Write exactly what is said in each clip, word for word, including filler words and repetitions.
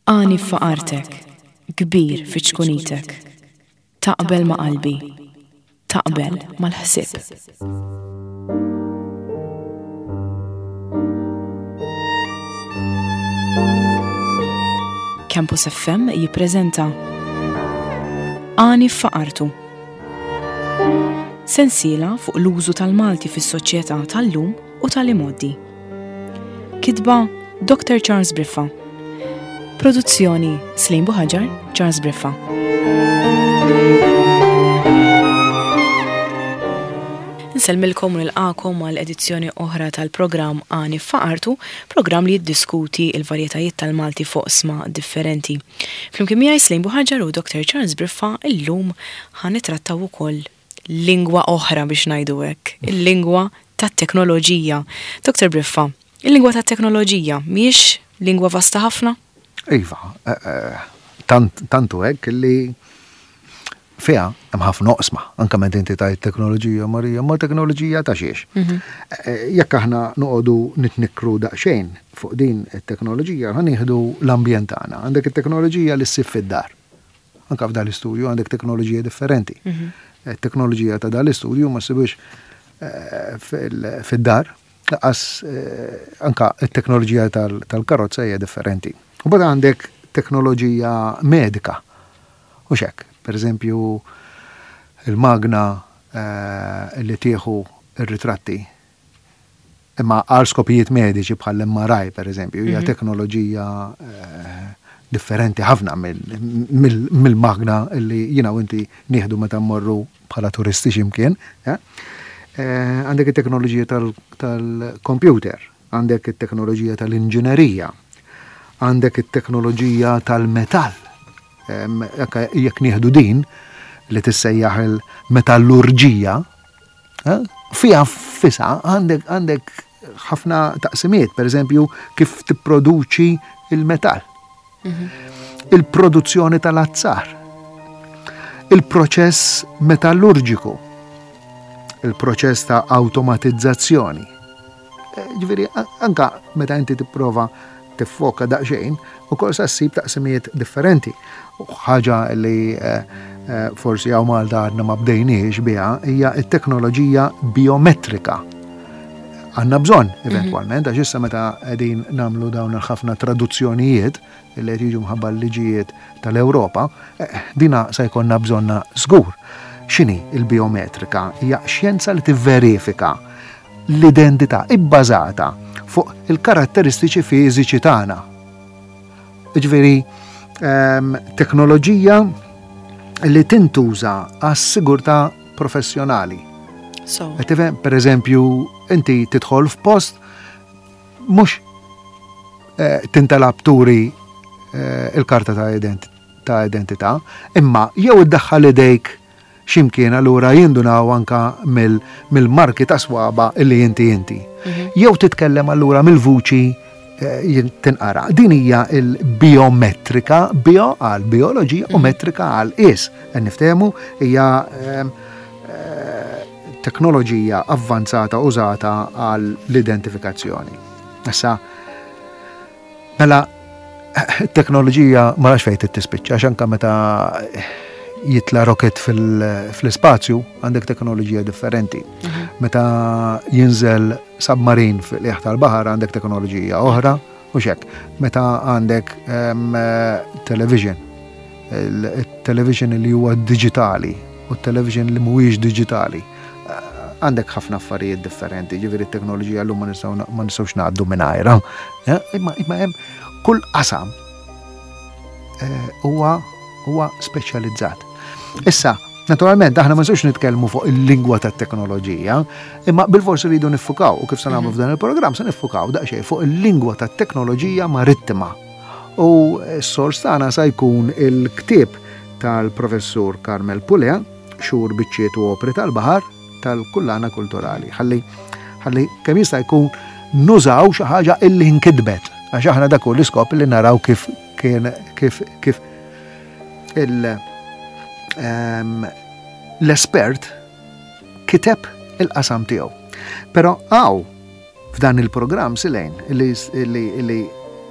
Għani f'faqartek, kbir fi ċkunitek. Taqbel ma' qalbi, taqbel mal-ħsieb. Campus F M jippreżenta Għani f'faqartu. Sensiela fuq l-użu tal-Malti fis-soċjetà tal-lum u tal-imgħoddi. Kitba Doctor Charles Briffa. Produzzjoni Slim Buhaġar, Charles Briffa. Nsellmilkom u nilqakom għal edizzjoni oħra tal-programm Għani f'Faqartu, programm li jiddiskuti l-varjetajiet tal-Malti fuq sma differenti. Flimkien miegħi Slim Buhaġar u Doctor Charles Briffa illum ħa nittrattaw ukoll lingwa oħra biex ngħidu hekk, il-lingwa tat-teknoloġija. Doctor Briffa, il-lingwa tat-teknoloġija mhijiex lingwa vasta ħafna? Iva, eh, eh, tant, tantu hekk li fiha hemm ħafna oqsma, anke meta inti tgħid teknoloġija, Marija, ma teknoloġija ta' xiex. Mhm. Eh, jekk aħna noqogħdu nitnikkru daqsxejn fuq din it-teknoloġija, ħa nieħdu l-ambjent tagħna. Għandek it-teknoloġija li ssib fid-dar. Anke f'dan l-istudju għandek teknoloġija differenti. Mhm. It-teknoloġija ta' dan l-istudju ma ssibux, eh, fil-, fid-dar, laqas, eh, anka t-teknoloġija tal-, tal-karozza hija differenti. U bada għandek teknoloġija medika. U xek, per eżempju, il-magna, eh, li tieħu ir-ritratti imma għal skopijiet mediċi bħal M R I, per eżempju, hija Mhm. teknoloġija, eh, differenti ħafna mill-, mill-, mill-magna li jiena u inti nieħdu meta mmorru bħala turisti x'imkien, eh? Eh, għandek it-teknoloġija tal-, tal-computer, għandek it-teknoloġija tal-inġinerija, għandek it-teknoloġija tal-metall. Em, jekk, jekk nieħdu din li tissejjaħ il-metallurġija, eh, fiha fisa għandek, għandek ħafna taqsimiet, per eżempju, kif tipproduċi il-metall. Mhm. Il-produzzjoni tal-azzar, il-proċess metallurġiku, il-proċess ta' automatizzazzjoni. Eh, ġifieri, a-, anka meta inti tipprova tiffoka daqsxejn, ukoll sa ssib taqsimijiet differenti. U ħaġa li, eh, eh, forsi hawn Malta għadna ma bdejniex biha hija t-teknoloġija biometrika. Għandna bżonn Mhm. eventwalment, għax issa meta qegħdin nagħmlu dawn il-ħafna traduzzjonijiet li qed jiġu mħabba l-liġijiet tal-Ewropa, eh, dina se jkollna bżonna żgur. X'inhi il-biometrika? Hija xjenza li tivverifika l-identità ibbażata fuq il-karatteristiċi fiżiċi tagħna. Jiġifieri, ehm, teknoloġija li tintuża għas-sigurtà professjonali. So. Qed tifhem, per eżempju, inti tidħol f'post mhux, eh, tintalab turi, eh, il-karta ta' ident-, ta' identità, imma jew iddaħħal idejk x'imkien allura jindunaw anka mill-, mill-marki ta' swaba illi inti inti. Mhm. Jew titkellem allura mill-vuċi, eh, jin-, tinqara. Din hija il-biometrika, bio għal bioloġija u Mhm. metrika għal is. Qed niftehmu hija, ehm, eh, teknoloġija avvanzata użata għal l-identifikazzjoni. Issa, mela, teknoloġija ma nafx fejn tispiċċa, għax anka meta jitla rocket fil-, fl-ispazju għandek teknoloġija differenti. Mhm. Meta jinżel submarin fil-qiegħ tal-baħar għandek teknoloġija oħra u xek. Meta għandek, ehm, television, il-, il-television li huwa digitali u t-television li mhuwiex digitali, għandek ħafna affarijiet differenti, ġifieri t-teknoloġija llum ma nistgħu na-, ma nistgħux ngħaddu mingħajrha. Eh, imma, imma hemm kull qasam, eh, huwa, huwa speċjalizzat. Issa, naturalment, aħna ma nistgħux nitkellmu fuq il-lingwa tat-teknoloġija, imma bil-forsi rridu niffukaw, u kif se nagħmlu Mhm. f'dan il-programm se niffukaw daqsxejn fuq il-lingwa tat-teknoloġija marittima. U s-sors tagħna se jkun il-ktieb tal-professur Carmel Pulea, Xhur Biċċiet u Opri tal-Baħar, tal-Kullana Kulturali. Ħalli, ħalli kemm jista' jkun nużaw xi ħaġa illi nkitbet, għax aħna dak hu l-iskop li naraw kif kien, kif, kif il, ehm, l-espert kiteb il-qasam tiegħu. Però hawn f'dan il-programm Silejn li, li, li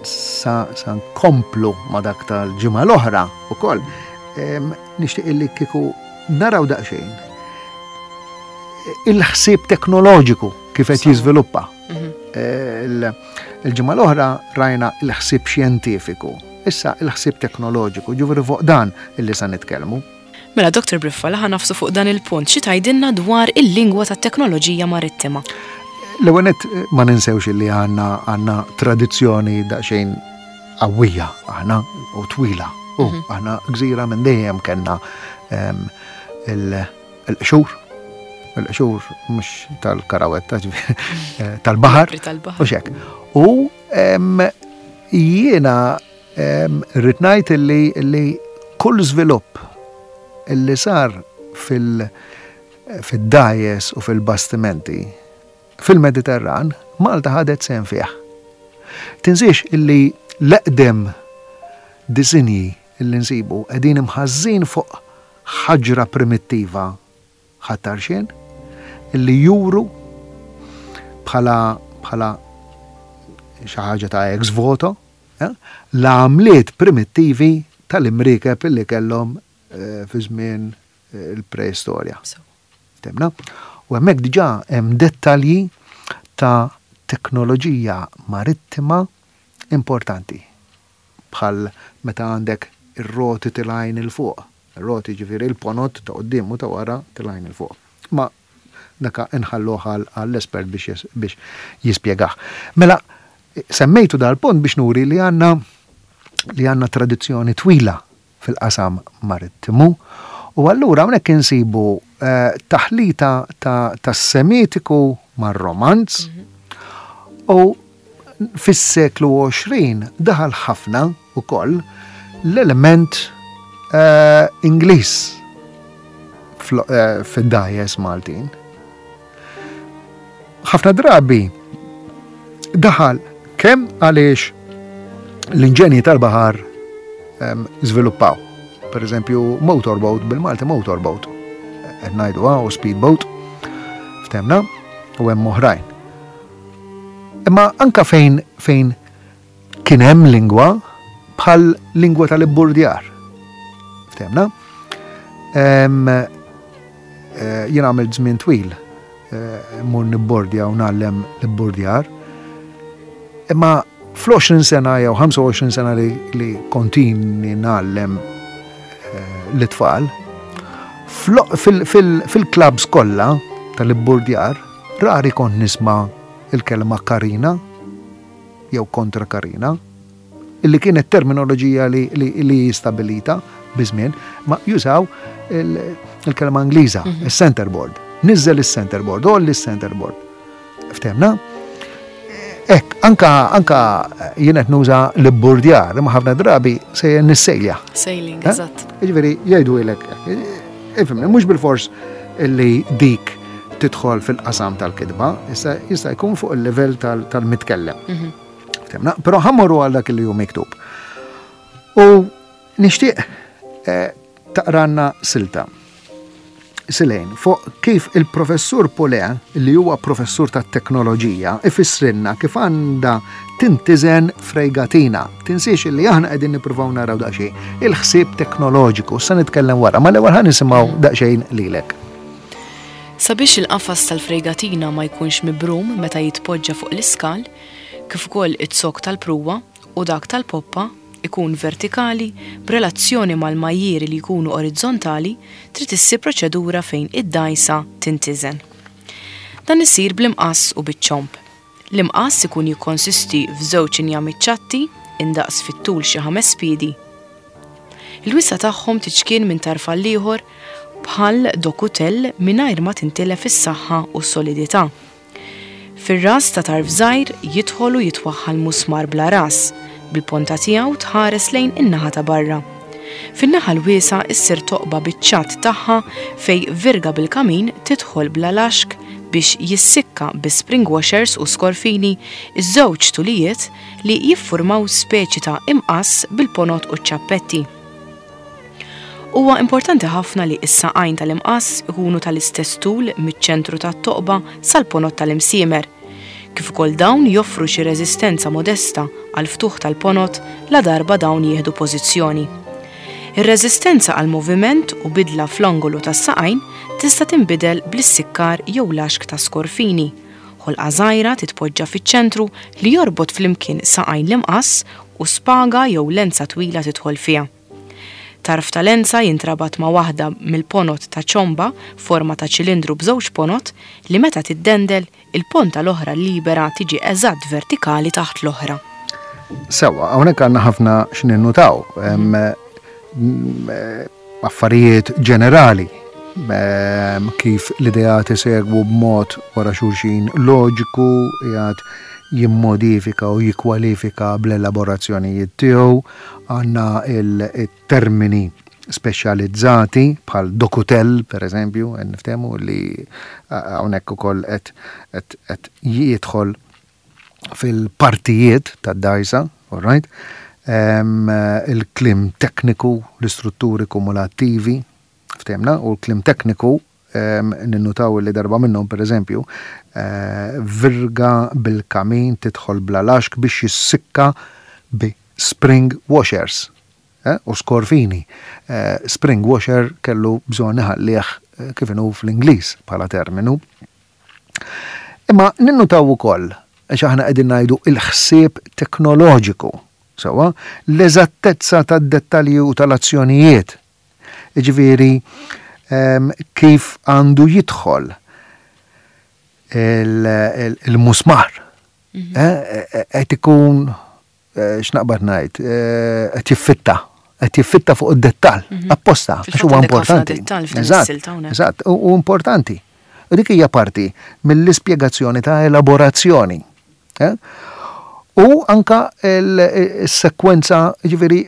sa, sa nkomplu ma dak tal-ġimgħa l-oħra ukoll, nixtieq illi kieku naraw daqsxejn il-ħsieb teknoloġiku kif qed jiżviluppa. Mhm. Il-ġimgħa l-oħra rajna il-ħsieb xjentifiku, issa il-ħsieb teknoloġiku, ġifieri fuq dan illi sa nitkellmu. Mela, Doktor Briffa, la ħa nagħfsu fuq dan il-punt, xi tgħidilna dwar il-lingwa tat-teknoloġija marittima? L-ewwel nett, ma ninsewx li għandna għandna tradizzjoni daqsxejn qawwija aħna u twila. U mhm. aħna gżira minn dejjem kellna il-qxur, il-qxur mhux tal-karawetta, eh, tal-baħar. U xek. U jiena rrid ngħid li kull żvilupp illi sar fil- fid-dgħajjes u fil-bastimenti fil-Mediterran, Malta ħadet sehem fih. Tinsiex illi l-eqdem disinji illi nsibu qegħdin imħażżin fuq ħaġra primittiva Ħal Tarxien illi juru bħala bħala xi ħaġa ta' ex voto eh, l-għamliet primittivi tal-imriekeb illi kellhom eh, fi żmien eh, il-preistorja. Temna? U hemmhekk diġà hemm dettalji ta' teknoloġija marittima importanti. Bħal meta għandek ir-roti tilgħin 'il fuq. Ir-roti, ġifieri il-ponot ta' quddiem u ta' wara, tilgħin 'il fuq. Ma daka inħalluh għall-espert biex biex jispjegah. Mela, semmejtu dal-punt biex nuri li għandna li għandna tradizzjoni twila fil-qasam marittimu u allura hawnhekk insibu eh, taħlita ta' tas-Semitiku mar-Romanz u fis-seklu għoxrin daħal ħafna ukoll l-element eh, Ingliż eh, fid-dgħajjes Maltin. Ħafna drabi daħal kemm għaliex l-inġenji tal-baħar żviluppaw. Per eżempju, motorboat, bil-Malti motorboat. Qed ngħidu u speedboat. Ftemna, u hemm oħrajn. Imma anka fejn fejn kien hemm lingwa bħal lingwa tal-ibburdjar. Ftemna? Eh, jien għamilt żmien twil eh, mur nibbordja u ngħallem l-ibburdjar. Imma fl-għoxrin sena jew ħamsa u għoxrin sena li, li kontini ngħallem eh, l-tfal, fil-clubs kollha tal-ibburdjar, rari kont nisma' il-kelma karina jew kontra karina, illi kienet terminoloġija li, li, li stabilita biż-żmien, ma jużaw il-kelma Ingliża, mhm. il-centerboard. Nizzel il-centerboard, għolli il-centerboard. Ftemna? Ek, anka, anka jien qed nuża l-burdjar, imma ħafna drabi se nissejlja. Sailing, eh? eżatt. Jiġifieri jgħidu ilek, ifhimni, mhux bil-fors illi dik tidħol fil-qasam tal-kitba, issa jista' jkun fuq il-livell tal-mitkellem. Mhm. Ftemna? Però ħa mmorru għal dak li hu miktub. U nixtieq eh, taqranna silta. Silejn, fuq kif il-professur Poulet, li huwa professur ta' teknoloġija, ifissrinna kif għandha tintiżen frejgatina. Tinsiex li aħna qegħdin nippruvaw naraw daqsxejn il-ħsieb teknoloġiku, sa nitkellem wara, ma l-ewwel ħa nisimgħu daqsxejn lilek. Sabiex il-qafas tal-frejgatina ma jkunx mibrum meta jitpoġġa fuq l-iskal, kif ukoll iz-zokk tal-pruwa u dak tal-poppa ikun vertikali b'relazzjoni mal-majjieri li jkunu orizzontali, trid issir proċedura fejn id-dgħajsa tintiżen. Dan isir bl-imqass u biċ-ċomb. L-imqass ikun jikkonsisti f'żewġ injami ċatti indaqs fit-tul xi ħames piedi. Il-wisa tagħhom tiċkien minn tarf għal ieħor bħal dokutell mingħajr ma tintilef is-saħħa u s-solidità. Fir-ras ta' tarf żgħir jidħol u jitwaħħal musmar bla ras, bil-ponta tiegħu tħares lejn in-naħa ta' barra. Fin-naħa l-wiesa issir toqba biċ-ċatt tagħha fej virga bil-kamin tidħol bla laxk biex jissikka bi spring washers u skorfini iż-żewġ tulijiet li jiffurmaw speċi ta' imqass bil-ponot u ċ-ċappetti. Huwa importanti ħafna li s-saqajn tal-imqass ikunu tal-istess tul miċ-ċentru tat-toqba sal-ponot tal-imsiemer, Kif ukoll dawn joffru xi reżistenza modesta għal ftuħ tal-ponot ladarba dawn jieħdu pożizzjoni. Ir-reżistenza għal moviment u bidla fl-angolu tas-saqajn tista' tinbidel bl-issikkar jew laxk ta' skorfini. Ħolqa żgħira titpoġġa fiċ-ċentru li jorbot flimkien saqajn l-imqass u spaga jew lenza twila tidħol fiha. Tarf ta' lenza jintrabat ma' waħda mill-ponot ta' ċomba forma ta' ċilindru b'żewġ ponot li meta tiddendel il-ponta l-oħra libera tiġi eżatt vertikali taħt l-oħra. Sewa, hawnhekk għandna ħafna x'ninnutaw. Affarijiet ġenerali kif l-ideat isegwu b'mod wara xulxin loġiku, jgħad jimmodifika u jikkwalifika bl-elaborazzjonijiet tiegħu, għandna il-termini speċjalizzati bħal dokutel, per eżempju, niftehmu li hawnhekk ukoll qed jidħol fil-partijiet tad-dgħajsa, all right? Il-kliem tekniku, l-istrutturi kumulattivi, ftehmna, u l-kliem tekniku ninnutaw li darba minnhom, per eżempju, virga bil-kamin tidħol bla laxk biex jissikka bi spring washers u skorfini. Spring washer kellu bżonn iħallih kif inhu fl-Ingliż bħala terminu. Imma ninnutaw ukoll għax aħna qegħdin ngħidu il-ħsieb teknoloġiku, sewwa, l-eżattezza tad-dettalji u tal-azzjonijiet. Jiġifieri kif għandu jidħol il-musmar. Qed ikun, x'naqbad ngħid, qed jiffitta, qed jiffitta fuq id-dettall, apposta, għax huwa importanti. Eżatt, u importanti. U dik hija parti mill-ispjegazzjoni ta' elaborazzjoni. U anka il-sekwenza, ġifieri,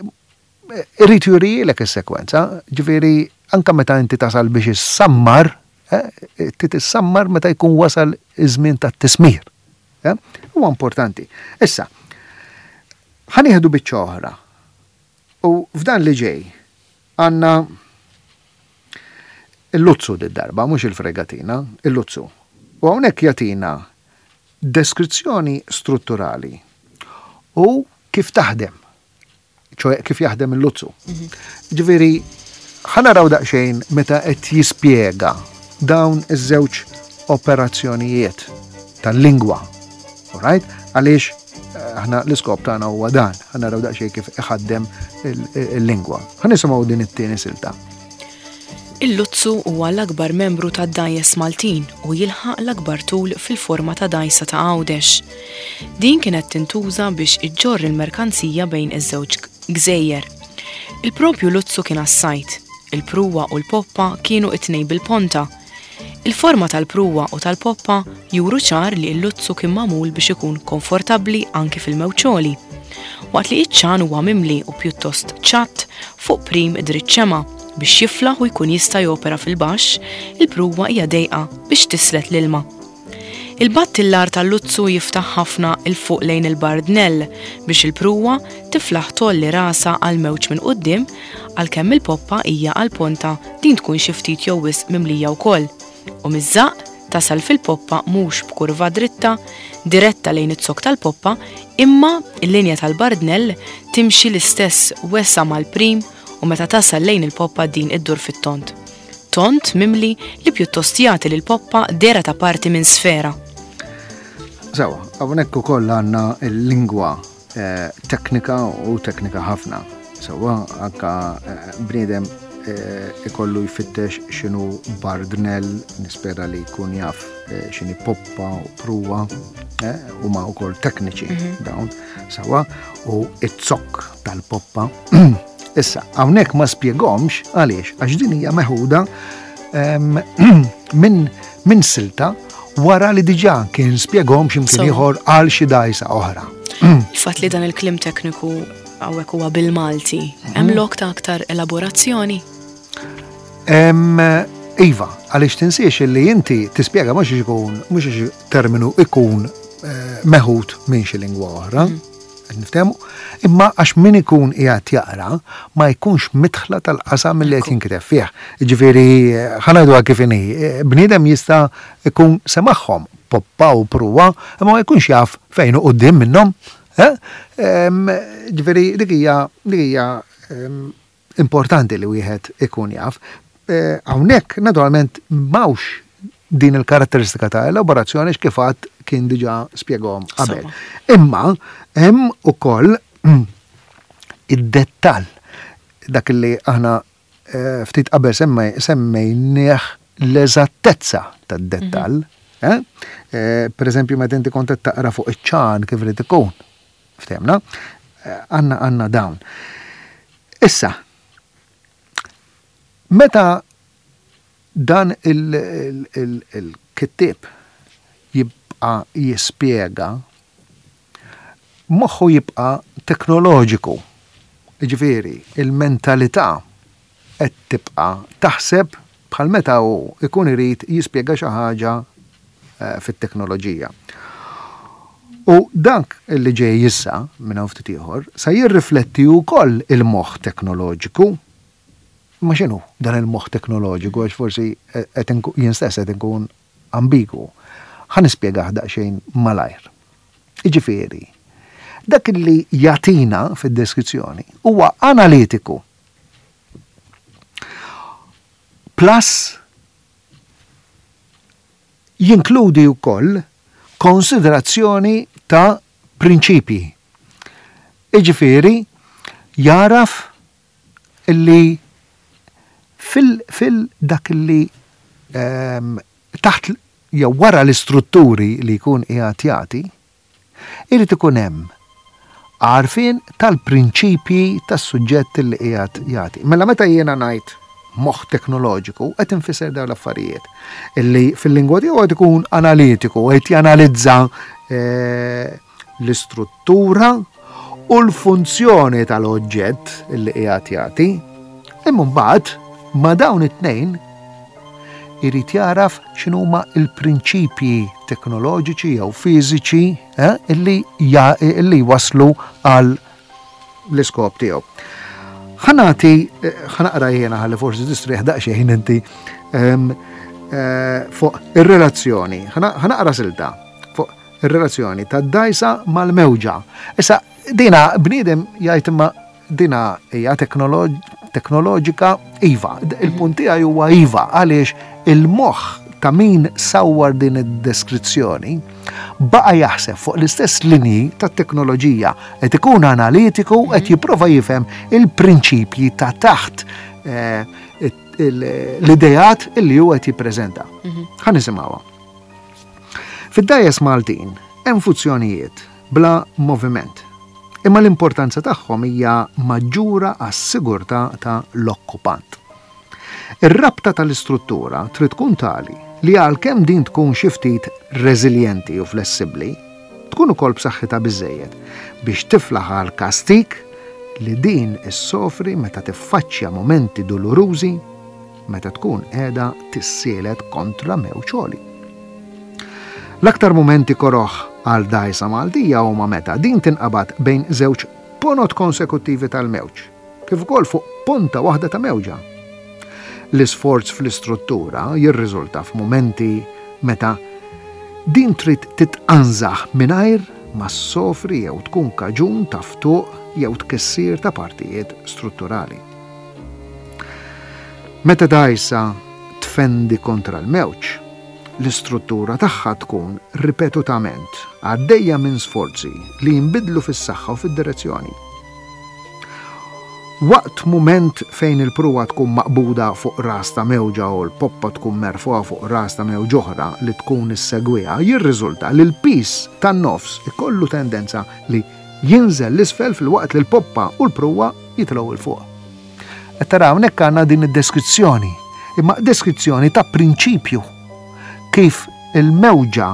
irrid jurilek is-sekwenza, ġifieri anka meta inti tasal biex issammar, titissammar meta jkun wasal iż-żmien tat-tismir. Huwa importanti. Issa, ħa nieħdu biċċa oħra. U f'dan li ġej għandna il-luzzu d-darba, mhux il-fregatina, il-luzzu. U hawnhekk jagħtina deskrizzjoni strutturali u kif taħdem, ċoè kif jaħdem il-luzzu. Ġifieri, ħa naraw daqsxejn meta qed jispjega dawn iż-żewġ operazzjonijiet tal-lingwa. Alright? Għaliex aħna l-iskop tagħna huwa dan, ħa naraw daqsxejn kif iħaddem il-lingwa. Ħa nisimgħu din it-tieni silta. Il-luzzu huwa l-akbar membru tad-dgħajjes Maltin u jilħaq l-akbar tul fil-forma ta' dgħajsa ta' Għawdex. Din kienet tintuża biex iġġorr il-merkanzija bejn iż-żewġ gżejjer. Il-propju luzzu kien għas-sajt, il-pruwa u l-poppa kienu it-tnejn bil-ponta. Il-forma tal-pruwa u tal-poppa juru ċar li l-luzzu kien magħmul biex ikun komfortabbli anki fil-mewċoli. Waqt li iċ-ċan huwa mimli u pjuttost ċatt fuq prim dritt ċema biex jiflaħ u jkun jista' jopera fil-baxx, il-pruwa hija dejqa biex tislet l-ilma. Il-battillar tal-luzzu jiftaħ ħafna il fuq lejn il-bardnell biex il-pruwa tiflaħ tolli rasa għal mewġ minn quddiem, għalkemm il-poppa hija għal ponta din tkun xi ftit jew wisq mimlija wkoll. U miż-żaqq tasal fil-poppa mhux b'kurva dritta diretta lejn iz-zokk tal-poppa, imma il-linja tal-bardnell timxi l-istess wesa mal-prim u meta tasal lejn il-poppa din iddur fit-tont. Tont mimli li pjuttost jagħti lil poppa dera ta' parti minn sfera. Sewa, hawnhekk ukoll għandna l-lingwa teknika u teknika ħafna. Sewa, anka bniedem ikollu jfittex x'inhu bardnell, nispera li jkun jaf x'inhi poppa u pruwa, huma wkoll tekniċi dawn, sewa, u it-zokk tal-poppa. Issa, hawnhekk ma spjegomx għaliex, għax din hija meħuda minn min silta wara li diġà kien spjegom x'imkien ieħor għal xi dgħajsa oħra. Il-fatt li dan il-kliem tekniku hawnhekk huwa bil-Malti, hemm lok ta' aktar elaborazzjoni? Iva, għaliex tinsiex li inti tispjega mhux ikun, mhux terminu ikun meħud minn xi lingwa oħra. Niftehmu? Imma għax min ikun qiegħed jaqra ma jkunx midħla tal-qasam li qed jinkiteb fih. Ġifieri ħa ngħiduha kif inhi, bniedem jista' jkun semagħhom poppa u pruwa, imma ma jkunx jaf fejn hu quddiem minnhom. Ġifieri dik hija dik hija importanti li wieħed ikun jaf. Hawnhekk naturalment m'hawnx din il-karatteristika ta' elaborazzjoni kif għad kien diġà spjegahom qabel. Imma hemm ukoll id-dettall dak li aħna ftit qabel semmejnieh l-eżattezza tad-dettall. Per eżempju, meta inti kont qed taqra fuq iċ-ċan kif irid ikun. Ftehmna? Għandna għandna dawn. Issa, meta dan il-kittieb jibqa' jispjega, moħħu jibqa' teknoloġiku. Ġifieri, il-mentalità qed tibqa' taħseb bħal meta hu ikun irid jispjega xi ħaġa fit-teknoloġija. U dak li ġej issa minn hawn ftit ieħor sa jirrifletti wkoll il-moħħ teknoloġiku. Ma x'inhu dan il-moħħ teknoloġiku għax forsi jien stess qed inkun ambigu. Ħa nispjegah daqsxejn malajr. Jiġifieri, dak li jagħtina fid-deskrizzjoni huwa analitiku. Plus jinkludi wkoll konsiderazzjoni ta' prinċipji. Jiġifieri, jaraf illi fil dak li taħt jew wara l-istrutturi li jkun qiegħed jagħti, irid ikun hemm għarfien tal-prinċipji tas-suġġett li qiegħed jagħti. Mela meta jiena ngħid moħħ teknoloġiku qed infisser dawn l-affarijiet illi fil-lingwa tiegħu qed ikun analitiku, qed janalizza l-istruttura u l-funzjoni tal-oġġett illi qiegħed jagħti. Imma mbagħad ma' dawn it-tnejn irid jaraf x'inhuma l-prinċipji teknoloġiċi jew fiżiċi illi illi waslu għal l-iskop tiegħu. Ħa nagħti, ħa naqra jiena ħalli forsi tistrieħ daqsxejn inti fuq ir-relazzjoni. Ħa naqra silta fuq ir-relazzjoni tad-dgħajsa mal-mewġa. Issa dina bniedem jgħid imma dina hija teknoloġika iva. Il-punt tiegħi huwa iva għaliex il-moħħ ta' min sawwar din id-deskrizzjoni baqa' jaħseb fuq l-istess linji tat-teknoloġija, qed ikun analitiku, qed jipprova jifhem il-prinċipji ta' taħt l-idejat illi huwa qed jippreżenta. Ħa nisimgħuha. Fid-dgħajjes Maltin hemm funzjonijiet bla moviment, imma l-importanza tagħhom hija maġġura għas-sigurtà ta' l-okkupant. Ir-rabta tal-istruttura trid tkun tali li għalkemm din tkun xi ftit reżiljenti u flessibbli, tkun ukoll b'saħħitha biżejjed biex tiflaħ għal kastik li din issofri meta tiffaċċja momenti dolorużi meta tkun qiegħda tissielet kontra mewġ għoli. L-aktar momenti koroħ għal dgħajsa Maltija huma meta din tinqabad bejn żewġ ponot konsekuttivi tal-mewġ, kif ukoll fuq ponta waħda ta' mewġa. L-isforz fl-istruttura jirriżulta f'mumenti meta din trid titqanżaħ mingħajr ma ssofri jew tkun kaġun ta' ftuq jew tkissir ta' partijiet strutturali. Meta dgħajsa tfendi kontra l-mewġ, l-istruttura tagħha tkun ripetutament għaddejja minn sforzi li jinbidlu fis-saħħa u fid-direzzjoni. Waqt mument fejn il-pruwa tkun maqbuda fuq ras ta' mewġa u l-poppa tkun merfuha fuq ras ta' mewġ oħra li tkun issegwiha, jirriżulta li l-pis tan-nofs ikollu tendenza li jinżel l-isfel fil-waqt li l-poppa u l-pruwa jitilgħu 'l fuq. Qed tara hawnhekk għandna din id-deskrizzjoni, imma deskrizzjoni ta' prinċipju kif il-mewġa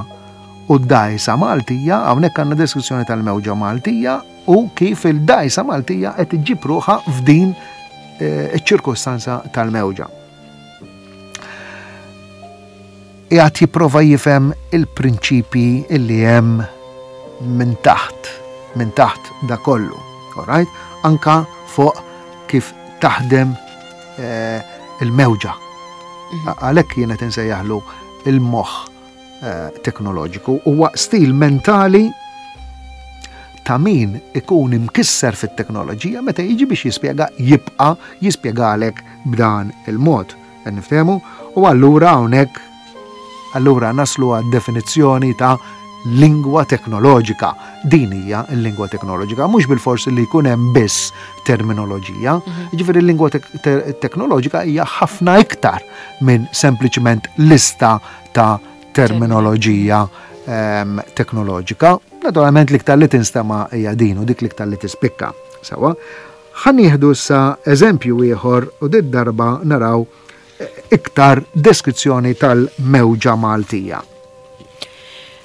u d-dgħajsa Maltija, hawnhekk għandna deskrizzjoni tal-mewġa Maltija u kif il-dgħajsa Maltija qed iġġib ruħha f'din iċ-ċirkustanza tal-mewġa. Qiegħed jipprova jifhem il-prinċipji illi hemm minn taħt minn taħt da kollu. All right? Anka fuq kif taħdem eh, il-mewġa. Mhm. Għalhekk jiena insejjaħlu il-moħħ eh, teknoloġiku, huwa stil mentali ta' min ikun imkisser fit-teknoloġija, meta jiġi biex jispjega jibqa' jispjegalek b'dan il-mod. Niftehmu? U allura hawnhekk allura naslu għad definizzjoni ta' lingwa teknoloġika. Din hija l-lingwa teknoloġika, mhux bil-forsi li jkun hemm biss terminoloġija. Mhm. Jiġifieri l-lingwa teknoloġika hija ħafna iktar minn sempliċement lista ta' terminoloġija ehm, teknoloġika. Naturalment l-iktar li tinstema hija din u dik l-iktar li tispikka. Sawa. Ħa nieħdu issa eżempju ieħor u dit darba naraw eh, iktar deskrizzjoni tal-mewġa Maltija.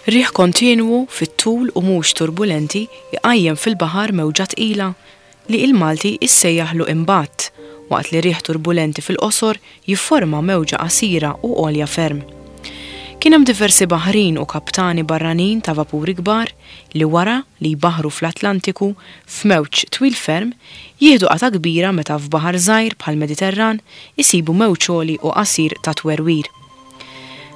Riħ kontinwu fit-tul u mhux turbulenti jqajjem fil-baħar mewġa tqila li il-Malti issejjaħlu imbatt, waqt li riħ turbulenti fil-qosor jifforma mewġa qasira u għolja ferm. Kien hemm diversi baħrin u kaptani barranin ta' vapuri kbar li wara li jbaħru fl-Atlantiku f'mewġ twil ferm jieħdu qata kbira meta f'baħar żgħir bħal Mediterran isibu mewġ għoli u qasir ta' twerwir.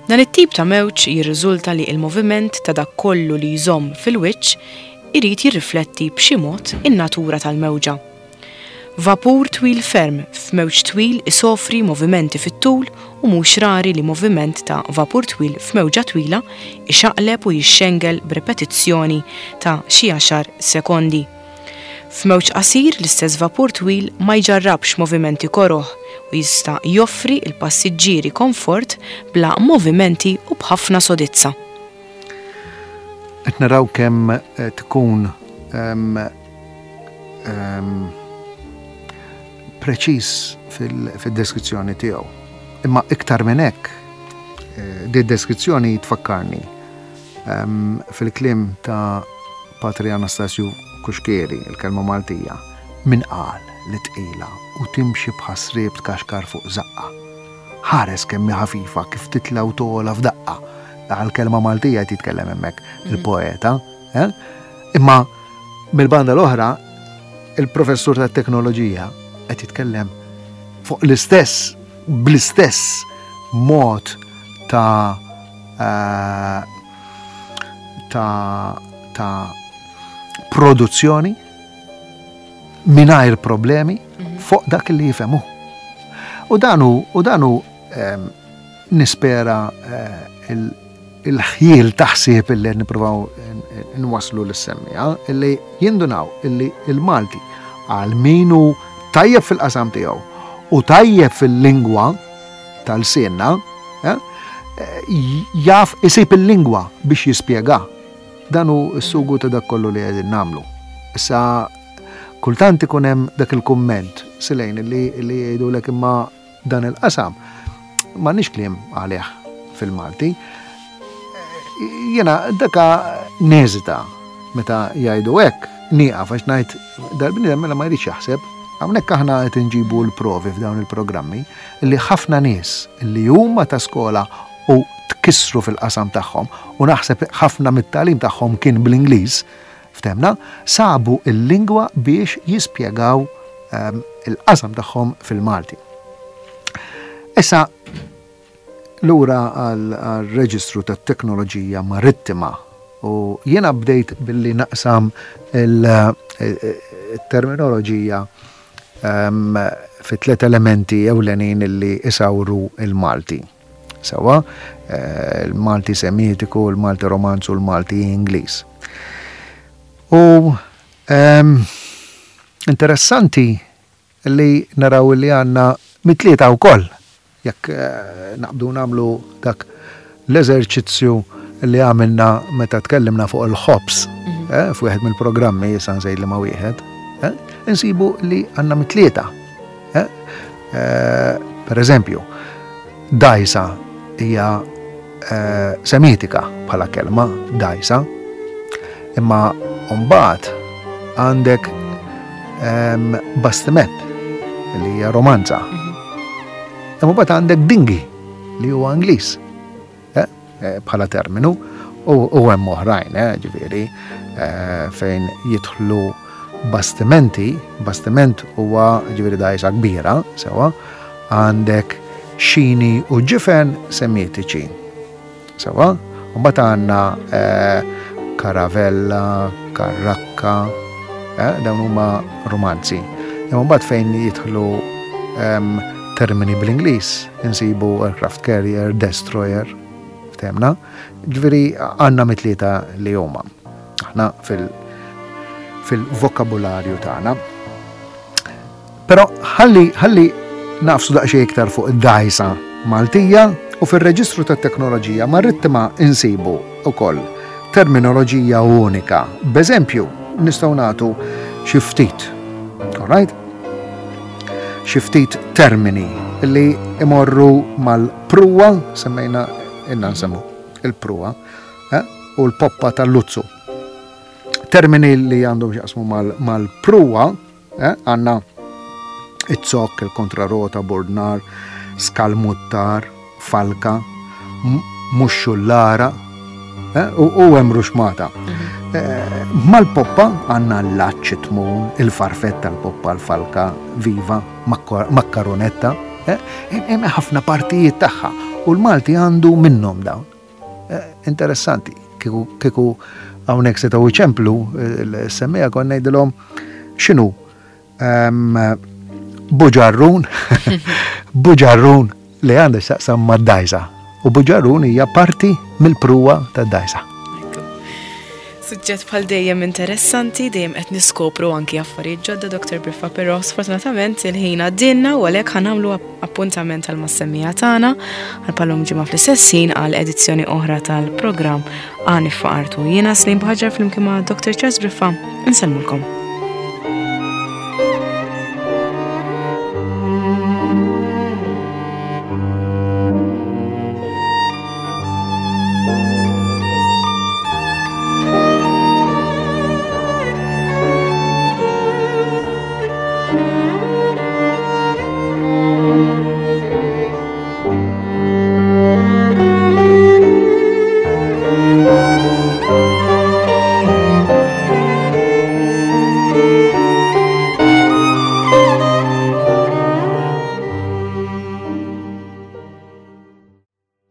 Dan it-tip ta' mewġ jirriżulta li il-moviment ta' dak kollu li jżomm fil-wiċċ irid jirrifletti b'xi mod in-natura tal-mewġa. Vapur twil ferm f'mewġ twil isofri movimenti fit-tul u mhux rari li moviment ta' vapur twil f'mewġa twila ixaqleb u jixxengel b'repetizzjoni ta' xi għaxar sekondi. F'mewġ qasir l-istess vapur twil ma jġarrabx movimenti koroħ u jista' joffri il-passiġġieri komfort bla movimenti u b'ħafna sodizza. Qed naraw kemm eh, tkun um, um, preċiż fil-deskrizzjoni tiegħu. Imma iktar minn hekk, eh, di deskrizzjoni tfakkarni um, fil-kliem ta' Patri Anastasju Kuxkieri, il-kelma Maltija, min qal li tqila u timxi b'ħasrib tkaxkar fuq zaqqa. Ħares kemm ħafifa kif titla u tola f'daqqa. Għal-kelma Maltija jitkellem hemmhekk mhm. il-poeta. Eh? Imma mill-banda l-oħra, il-professur tat-teknoloġija qed jitkellem fuq l-istess, bl-istess mod ta' eh, ta' ta' produzzjoni mingħajr problemi mhm. fuq dak li jifhemu. U danu, u danu eh, nispera eh, il-ħjiel taħsib illi nippruvaw nwaslu lis-semmiegħa, illi jindunaw illi il-Malti għal minu tajjeb fil-qasam tiegħu u tajjeb fil-lingwa tal-sinna, eh, jaf isib il-lingwa biex jispjega. Dan hu s-sugu ta' dak kollu li qegħdin nagħmlu. Issa kultant ikun hemm dak il-kumment silejn li li jgħidulek imma dan il-qasam m'għandniex kliem għalih fil-Malti. Jena daka neżita meta jgħidu hekk, nieqaf għax ngħid dal-bniedem mela ma jridx jaħseb. Hawnhekk aħna qed inġibu l-provi f'dawn il-programmi li ħafna nies li huma ta' skola u tkissru fil-qasam tagħhom u naħseb ħafna mit-tagħlim tagħhom kien bl-Ingliż, ftemna, sabu il-lingwa biex jispjegaw um, il-qasam tagħhom fil-Malti. Issa, lura għal-reġistru tat-teknoloġija marittima u jiena bdejt billi naqsam il-terminoloġija um, fi tliet elementi ewlenin illi isawru il-Malti. Sawa, eh, il-Malti Semitiku, il-Malti Romanzu, il-Malti Ingliż. U um, interessanti li naraw li għandna mit-tlieta wkoll, jekk eh, naqbdu nagħmlu dak l-eżerċizzju li għamilna meta tkellimna fuq il-ħobs, mhm. eh, f'wieħed mill-programmi, issa nsejt li ma wieħed, eh, insibu li għandna mit-tlieta. Eh, eh, per eżempju, dajsa hija eh, semitika bħala kelma, dajsa, imma mbagħad għandek ehm, bastiment li hija romanza. Mhm. Imma mbagħad għandek dingi li huwa Ingliż eh, eh, bħala terminu U hemm oħrajn, eh, ġifieri, eh, fejn jidħlu bastimenti, bastiment huwa ġifieri dgħajsa kbira, sewa, għandek xini u ġifen semitiċi. Sewa, u mbagħad għandna eh, karavella, karrakka, eh, dawn huma romanzi. Imma mbagħad fejn jidħlu ehm, termini bl-Ingliż, insibu aircraft carrier, destroyer, ftemna, ġifieri għandna mitlieta li huma. Aħna fil- fil-vokabularju tagħna. Però ħalli ħalli nafsu daqsxejn iktar fuq id-dgħajsa Maltija u fir-reġistru tat-teknoloġija marittima insibu ukoll terminoloġija unika. B'eżempju, nistgħu nagħtu xi ftit. All right? Xi ftit termini li imorru mal-pruwa, semmejna inna nsemmu il-pruwa, eh? U l-poppa tal-luzzu. Termini li għandhom x'jaqsmu mal-pruwa, eh? Għandna it-zokk, il-kontrarota, bordnar, skalmuttar, falka, muxxullara, eh? U hemm ruxmata. Mhm. Eh, mal-poppa għandna l-laċċ, tmun, il-farfett tal-poppa, l-falka, viva, makkaronetta, eh? Hemm ħafna partijiet tagħha u l-Malti għandu minnhom dawn. Interessanti, kieku hawnhekk setgħu iċemplu l-semmija kon ngħidilhom x'inhu buġarrun, buġarrun li għandha x'taqsam mad-dgħajsa. U buġarrun hija parti mill-pruwa tad-dgħajsa. Suġġett bħal dejjem interessanti, dejjem qed niskopru anki affarijiet ġodda, Doktor Briffa, però sfortunatament il-ħin għaddinna u għalhekk ħa nagħmlu appuntament għal mas-semmija tagħna għal palom ġimgħa fl-istess ħin għal edizzjoni oħra tal-programm Għani Faqartu. Jiena Slim Bħaġar flimkien ma' Doktor Charles Briffa, insellmulkom.